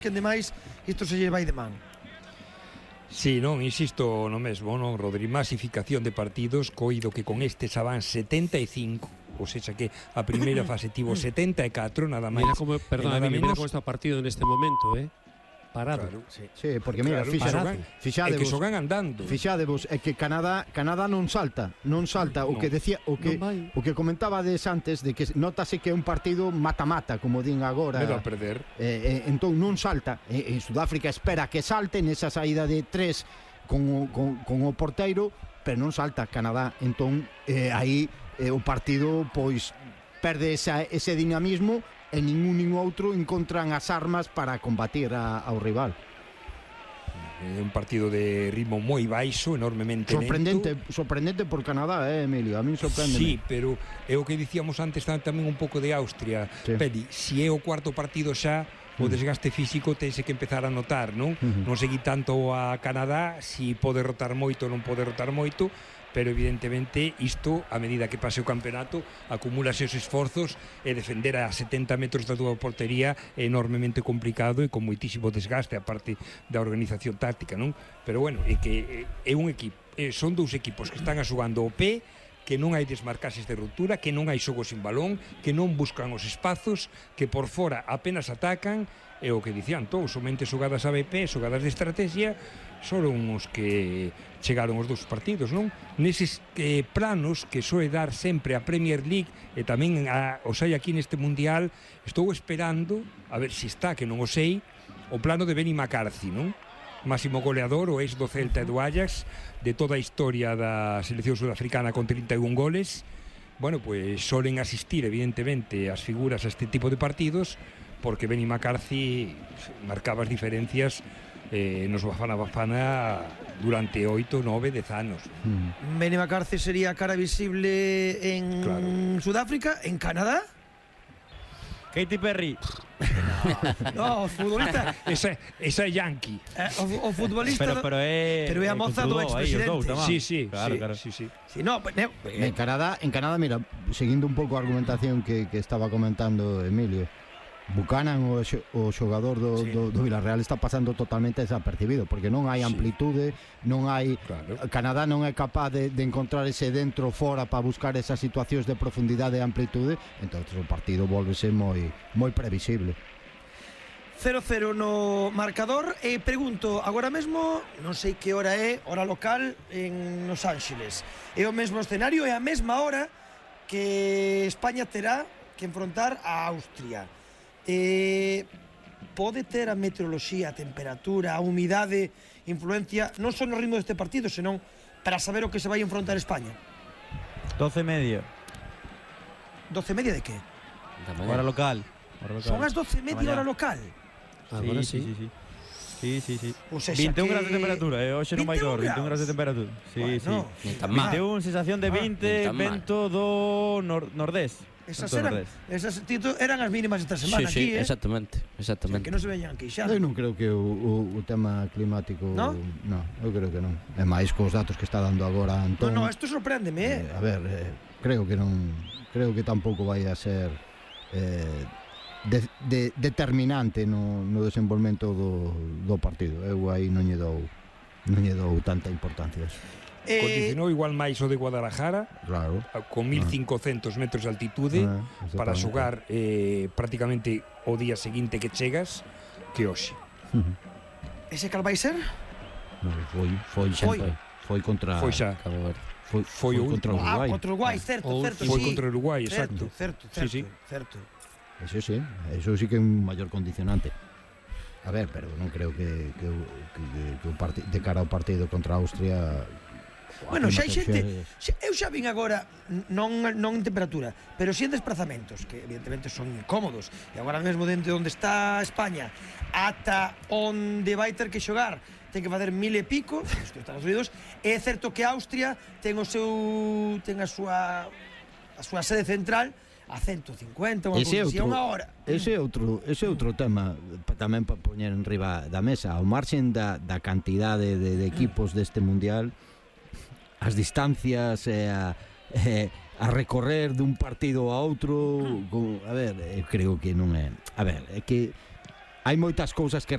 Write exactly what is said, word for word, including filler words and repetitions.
que ademais isto se lle vai de man. Si, sí, non, insisto no mesmo, non, Rodri, masificación de partidos, coido que con este xa van setenta e cinco, ou seja que a primeira fase tivo setenta e catro, nada máis. Mira como, perdón, mira como está o partido neste momento, eh? Parado. Claro. Sí, sí, porque mira, claro, fixadevos, é que xogan andando. Fixadevos, é que Canadá, Canadá non salta, non salta, o no, que decía, o que o que comentabades antes de que notase que é un partido mata-mata, como din agora. Medo a perder. Eh, eh, entón non salta, eh, en Sudáfrica espera que salte nesa saída de tres con o, con, con o porteiro, pero non salta Canadá, entón eh, aí eh, o partido pois perde esa, ese dinamismo e ningún nin outro encontran as armas para combatir a, ao rival. É un partido de ritmo moi baixo, enormemente sorprendente, lento. Sorprendente por Canadá, eh, Emilio, a min sorprende. Sí, pero é o que dicíamos antes tamén un pouco de Austria. Sí. Peli, si é o cuarto partido xa, o desgaste físico tense que empezar a notar, non? Uh-huh. Non seguir tanto a Canadá, si pode rotar moito ou non pode rotar moito, pero evidentemente isto, a medida que pase o campeonato, acumúlase os esforzos e defender a setenta metros da túa portería é enormemente complicado e con moitísimo desgaste, a parte da organización táctica, non? Pero bueno, é que é un equipo, son dous equipos que están a xogando o pé, que non hai desmarcases de ruptura, que non hai xogo sin balón, que non buscan os espazos, que por fora apenas atacan, e o que dicían todos, somente xogadas A B P, xogadas de estrategia, foron os que chegaron os dous partidos, non? Neses eh, planos que soe dar sempre a Premier League e tamén a, os hai aquí neste Mundial, estou esperando, a ver se está, que non o sei, o plano de Benny McCarthy, non? Máximo goleador, o ex do Celta e do Ajax, de toda a historia da selección sudafricana con trinta e un goles. Bueno, pues solen asistir evidentemente as figuras a este tipo de partidos, porque Benny McCarthy marcaba as diferencias eh, nos Bafana Bafana durante oito, nove, dez anos. Mm. Benny McCarthy sería cara visible en claro. Sudáfrica, en Canadá. Katy Perry. No, o futbolista. Esa, esa é Yankee. Eh, o, o futbolista. Pero, pero é. Pero é a moza do expresidente. Sí, sí, claro, sí, claro. sí, sí. Sí, no, pues, no, eh. En Canadá, en Canadá, mira, seguindo un pouco a argumentación que, que estaba comentando Emilio, Buchanan, o, o xogador do, sí. do, do Villarreal, está pasando totalmente desapercibido, porque non hai amplitude, sí. non hai claro. Canadá non é capaz de, de encontrar ese dentro fora para buscar esas situacións de profundidade e amplitude, entonces o partido volvese moi moi previsible. cero cero no marcador. E pregunto, agora mesmo non sei que hora é, hora local en Los Ángeles, é o mesmo escenario, é a mesma hora que España terá que enfrontar a Austria. Eh, pode ter a meteoroloxía, a temperatura, a humidade influencia non só no ritmo deste partido, senón para saber o que se vai enfrontar España? doce e media. doce e media de que? Hora local. Hora local. Son as doce e media hora local. Agora sí, sí, sí. Sí, sí, sí. O sea, vinte e un que... graus de temperatura, eh, hoxe non vai calor, vinte e un graus de temperatura. Sí, bueno, sí. vinte e un, sensación de vinte, ah, vento do nor nordés. Esas eran, esas tito, eran as mínimas esta semana sí, aquí, sí, eh? exactamente, exactamente. O sea, que non se veñan queixando. Eu non creo que o, o, o tema climático, ¿no? No, eu creo que non. É máis cos datos que está dando agora Antón. No, no, isto sorpréndeme, eh. eh a ver, eh, creo que non, creo que tampouco vai a ser eh De, de, determinante no, no desenvolvemento do, do partido. Eu aí non lle dou non lle dou tanta importancia. Eh, Condicionou igual máis o de Guadalajara, claro, con mil cincocentos metros de altitude, ah, para xogar eh, prácticamente o día seguinte que chegas que hoxe. Uh-huh. Ese cal vai ser? No, foi, foi, foi, foi, foi contra foi xa. Foi, foi, foi contra o Uruguai. Ah, contra o Uruguai, certo, o, certo, foi sí. contra o Uruguai, exacto. Certo, certo, sí, sí. certo. Eso sí, eso sí que é un maior condicionante. A ver, pero non creo que, que, que, que o part... de cara ao partido contra a Austria. Bueno, xa hai xente, xa, eu xa vin agora, non, non en temperatura, pero si en desplazamentos, que evidentemente son incómodos, e agora mesmo dentro onde está España, ata onde vai ter que xogar, ten que facer mil e pico, nos Estados Unidos, é certo que Austria ten o seu, ten a súa, a súa sede central a ciento cincuenta, unha posición a hora. Ese é outro, ese é outro tema tamén para poñer en riba da mesa, ao marxen da, da cantidade de, de equipos deste Mundial, as distancias e a, e a recorrer dun partido a outro, con, a ver, eu creo que non é, a ver, é que hai moitas cousas que